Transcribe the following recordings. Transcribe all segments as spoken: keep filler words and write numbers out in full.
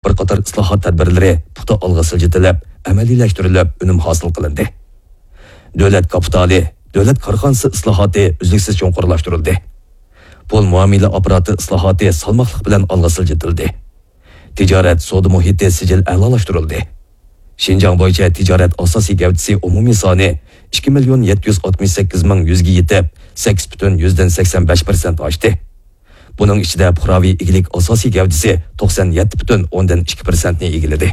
بىر قاتار ئىسلاھات تەدبىرلىرى پۇختا ئالغا سىلجىتىلىپ، ئەمەلىيلەشتۈرۈلۈپ، ئۈنۈم ھاسىل قىلىندى. دۆلەت كاپىتالى، دۆلەت كارخانىسى ئىسلاھاتى ئۈزلۈكسىز چوڭقۇرلاشتۇرۇلدى. پۇل مۇئامىلە ئاپپاراتى ئىسلاھاتى سالماقلىق بىلەن ئالغا سىلجىتىلدى. تىجارەت، سودا مۇھىتى سىجىل ئەلالاشتۇرۇلدى. شىنجاڭ بويىچە تىجارەت ئاساسىي گەۋدىسى ئومۇمىي سانى ئىككى مىليون يەتتە يۈز ئاتمىش سەككىز مىڭ يۈزگە يېتىپ، سەككىز پۈتۈن يۈزدىن سەكسەن بەش پىرسەنت ئاشتى. بۇنىڭ ئىچىدە پۇقراۋى ئىگىلىك ئاساسىي گەۋدىسى توقسان يەتتە پۈتۈن ئوندىن ئىككى پىرسەنتنى ئىگىلىدى.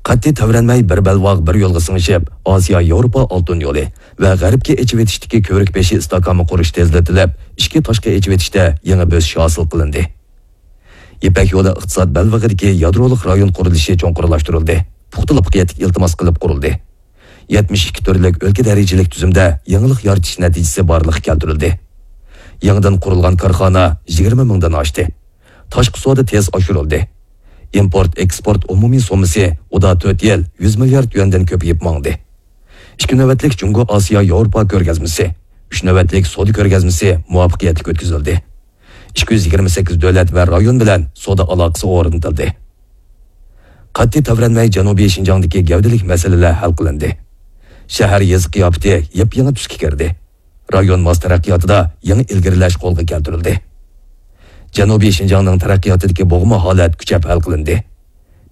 قەتئىي تەۋرەنمەي بىر بەلباغ بىر يولغا سىڭىشىپ، ئاسىيا ياۋروپا ئالتۇن يولى ۋە غەربكە ئېچىۋېتىشتىكى كۆۋرۈك بېشى ئىستاكانى قۇرۇش تېزلىتىلىپ، ئىچكى تاشقى ئېچىۋېتىشتە يېڭى بۆسۈش ھاسىل قىلىندى. يىپەك يولى ئىقتىساد بەلبېغىدىكى يادرولۇق رايون قۇرۇلۇشى چوڭقۇرلاشتۇرۇلدى، پۇختا لۇققىيەتلىك ئىلتىماس قىلىپ قۇرۇلدى. يەتمىش ئىككى تۈرلۈك ئۆلكە دەرىجىلىك تۈزۈمدە يېڭىلىق يارىتىش نەتىجىسى بارلىققا كەلتۈرۈلدى. يېڭىدىن قۇرۇلغان كارخانا يىگىرمە مىڭدىن ئاشتى. تاشقى سودا تېز ئاشۇرۇلدى. ئىمپورت ئېكسپورت ئومۇمىي سوممىسى ئۇدا تۆت يىل يۈز مىليارد يۈەندىن كۆپىيىپ ماڭدى. ئىككى نۆۋەتلىك جۇڭگو ئاسىيا ياۋروپا كۆرگەزمىسى، ئۈچ نۆۋەتلىك سودا كۆرگەزمىسى مۇۋەپپەقىيەتلىك ئۆتكۈزۈلدى. ئىككى يۈز يىگىرمە سەككىز دۆلەت ۋە رايون بىلەن سودا ئالاقىسى ئورنىتىلدى. قەتئىي تەۋرەنمەي جەنۇبىي شىنجاڭدىكى گەۋدىلىك مەسىلىلەر ھەل قىلىندى. شەھەر يېزا قىياپىتى يېپيېڭى تۈسكە كىردى. رايون ماس تەرەققىياتىدا يېڭى ئىلگىرىلەش قولغا كەلتۈرۈلدى. جەنۇبىي شىنجاڭنىڭ تەرەققىياتىدىكى بوغما ھالەت كۈچەپ ھەل قىلىندى.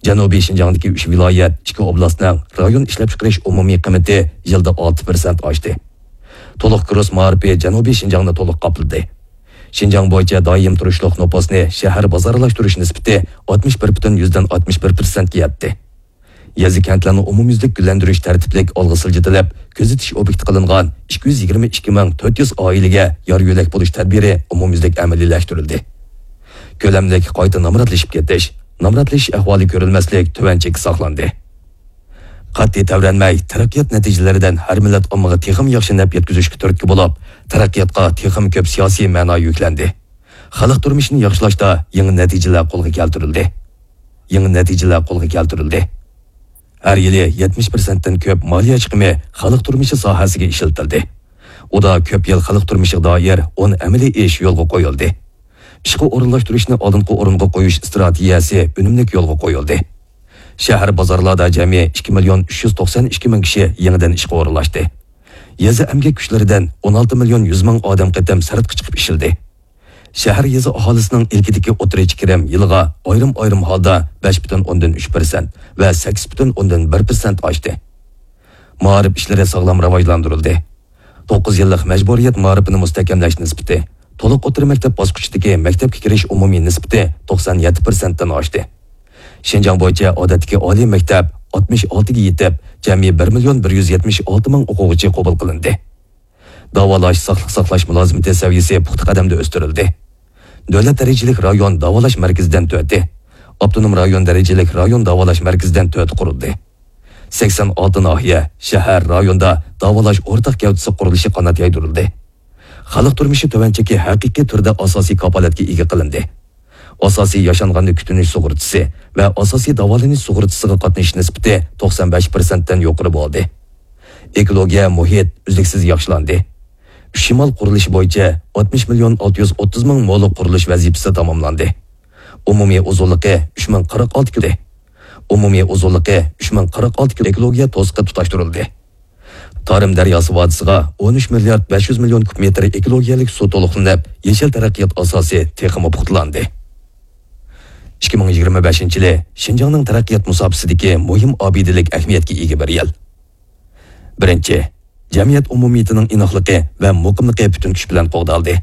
جەنۇبىي شىنجاڭدىكى ئۈچ ۋىلايەت، ئىككى ئوبلاستنىڭ رايون ئىشلەپچىقىرىش ئومۇمىي قىممىتى يىلدا ئالتە پىرسەنت ئاشتى. تولۇق كۇرس مائارىپى جەنۇبىي شىنجاڭنى تولۇق قاپلىدى. شىنجاڭ بويىچە دائىم تۇرۇشلۇق نوپۇسنى شەھەر بازارلاشتۇرۇش نىسبىتى ئاتمىش بىر پۈتۈن يۈزدىن ئاتمىش بىر پىرسەنتكە يەتتى. يېزا كەنتلەرنى ئومۇميۈزلۈك گۈللەندۈرۈش تەرتىپلىك ئالغا سىلجىتىلىپ، كۆزىتىش ئوبيېكتى قىلىنغان ئىككى يۈز يىگىرمە ئىككى مىڭ تۆت يۈز ئائىلىگە يار يۆلەك بولۇش تەدبىرى ئومۇميۈزلۈك ئەمەلىيلەشتۈرۈلدى. كۆلەملىك قايتا نامراتلىشىپ كېتىش، نامراتلىشىش ئەھۋالى كۆرۈلمەسلىك تۆۋەن چەككە ساقلاندى. قەتئىي تەۋرەنمەي، تەرەققىيات نەتىجىلىرىدىن ھەر مىللەت ئاممىغا تېخىمۇ ياخشى نەپ يەتكۈزۈشكە تۈرتكە بولۇپ، تەرەققىياتقا تېخىمۇ كۆپ سىياسىي مەنا يۈكلەندى. خەلق تۇرمۇشىنى ياخشىلاشتا يېڭى نەتىجىلەر قولغا كەلتۈرۈلدى. يېڭى نەتىجىلەر قولغا كەلتۈرۈلدى. ھەر يىلى يەتمىش پىرسەنتتىن كۆپ مالىيە چىقىمى خەلق تۇرمۇشى ساھەسىگە ئىشلىتىلدى. ئۇدا كۆپ يىل خەلق تۇرمۇشىغا دائىر ئون ئەمەلىي ئىش يولغا قويۇلدى. ئىشقا ئورۇنلاشتۇرۇشنى ئالدىنقى ئورۇنغا قويۇش ئىستراتېگىيەسى ئۈنۈملۈك يولغا قويۇلدى. شەھەر بازارلاردا جەمئىي ئىككى مىليون ئۈچ يۈز توقسان ئىككى مىڭ كىشى يېڭىدىن ئىشقا ئورۇنلاشتى. يېزا ئەمگەك كۈچلىرىدىن ئون ئالتە مىليون يۈز مىڭ ئادەم قېتىم سىرتقا چىقىپ ئىشلىدى. شەھەر يېزا ئاھالىسىنىڭ ئىلكىدىكى ئوتتۇرىچە كىرىم يىلىغا ئايرىم-ئايرىم ھالدا بەش پۈتۈن ئوندىن ئۈچ پىرسەنت ۋە سەككىز پۈتۈن ئوندىن بىر پىرسەنت ئاشتى. مائارىپ ئىشلىرى ساغلام راۋاجلاندۇرۇلدى. توققۇز يىللىق مەجبۇرىيەت مائارىپىنى مۇستەھكەملەش نىسبىتى، تولۇق ئوتتۇرا مەكتەپ باسقۇچىدىكى مەكتەپكە كىرىش ئومۇمىي نىسبىتى توقسان يەتتە پىرسەنتتىن ئاشتى. شىنجاڭ بويىچە ئادەتتىكى ئالىي مەكتەپ ئاتمىش ئالتىگە يېتىپ، جەمئىي بىر مىليون بىر يۈز يەتمىش ئالتە مىڭ ئوقۇغۇچى قوبۇل قىلىندى. داۋالاش، ساقلىق ساقلاش مۇلازىمىتى سەۋىيەسى پۇختا قەدەمدە ئۆستۈرۈلدى. دۆلەت دەرىجىلىك رايون داۋالاش مەركىزىدىن تۆتى، ئاپتونوم رايون دەرىجىلىك رايون داۋالاش مەركىزىدىن تۆتى قۇرۇلدى. سەكسەن ئالتە ناھىيە، شەھەر، رايوندا داۋالاش ئورتاق گەۋدىسى قۇرۇلۇشى قانات يايدۇرۇلدى. خەلق تۇرمۇشى تۆۋەن چېكى ھەقىقىي تۈردە ئاساسىي كاپالەتكە ئىگە قىلىندى. ئاساسىي ياشانغاننى كۈتۈنۈش سۇغۇرتىسى ۋە ئاساسىي داۋالىنىش سۇغۇرتىسىغا قاتنىشىش نىسبىتى توقسان بەش پىرسەنتتىن يۇقىرى بولدى. ئېكولوگىيە، مۇھىت ئۈزلۈكسىز ياخشىلاندى. ئۈچ شىمال قۇرۇلۇشى بويىچە ئاتمىش مىليون ئالتە يۈز ئوتتۇز مىڭ مولۇق قۇرۇلۇش ۋەزىپىسى تاماملاندى. ئومۇمىي ئۇزۇنلۇقى ئۈچ مىڭ قىرىق ئالتە كىلو. ئومۇمىي ئۇزۇنلۇقى ئۈچ مىڭ قىرىق ئالتە كىلو. ئېكولوگىيە توسۇقى تۇتاشتۇرۇلدى. تارىم دەرياسى ۋادىسىغا ئون ئۈچ مىليارد بەش يۈز مىليون كۇب مېتىر ئېكولوگىيەلىك سۇ تولۇقلىنىپ، يېشىل تەرەققىيات ئاساسى تېخىمۇ پۇختىلاندى. ئىككى مىڭ يىگىرمە بەشىنچى يىلى شىنجاڭنىڭ تەرەققىيات مۇساپىسىدىكى مۇھىم ئابىدىلىك ئەھمىيەتكە ئىگە بىر يىل. بىرىنچى، جەمئىيەت ئومۇمىيىتىنىڭ ئىناقلىقى ۋە مۇقىملىقى پۈتۈن كۈچ بىلەن قوغدالدى.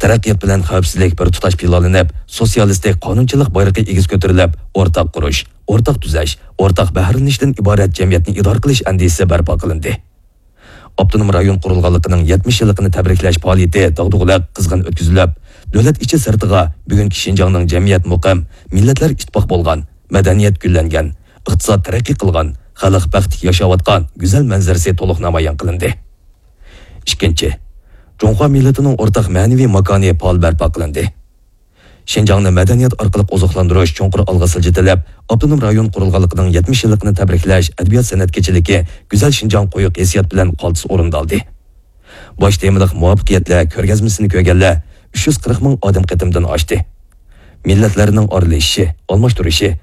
تەرەققىيات بىلەن خەۋپسىزلىك بىر تۇتاش پىلانلىنىپ، سوتسىيالىستىك قانۇنچىلىق بايرىقى ئېگىز كۆتۈرۈلۈپ، ئورتاق قۇرۇش، ئورتاق تۈزەش، ئورتاق بەھرىلىنىشتىن ئىبارەت جەمئىيەتنى ئىدارە قىلىش ئەندىزىسى بەرپا قىلىندى. ئاپتونوم رايون قۇرۇلغانلىقىنىڭ يەتمىش يىللىقىنى تەبرىكلەش پائالىيىتى داغدۇغىلىق، قىزغىن ئۆتكۈزۈلۈپ، دۆلەت ئىچى سىرتىغا بۈگۈنكى شىنجاڭنىڭ جەمئىيەت مۇقىم، مىللەتلەر ئىتتىپاق بولغان، مەدەنىيەت گۈللەنگەن، ئىقتىساد تەرەققىي قىلغان، خەلق بەختلىك ياشاۋاتقان گۈزەل مەنزىرىسى تولۇق نامايان قىلىندى. ئىككىنچى، جۇڭخۇا مىللىتىنىڭ ئورتاق مەنىۋى ماكانى پائال بەرپا قىلىندى. شىنجاڭنى مەدەنىيەت ئارقىلىق ئوزۇقلاندۇرۇش چوڭقۇر ئالغا سىلجىتىلىپ، ئاپتونوم رايون قۇرۇلغانلىقىنىڭ يەتمىش يىللىقىنى تەبرىكلەش ئەدەبىيات-سەنئەت كېچىلىكى گۈزەل شىنجاڭ قويۇق ھېسسىيات بىلەن قالتىس ئورۇندالدى. باش تېمىلىق مۇۋەپپەقىيەتلەر كۆرگەزمىسىنى كۆرگەنلەر ئۈچ يۈز قىرىق مىڭ ئادەم قېتىمدىن ئاشتى. مىللەتلەرنىڭ ئارىلىشىشى، ئالماشتۇرۇشى،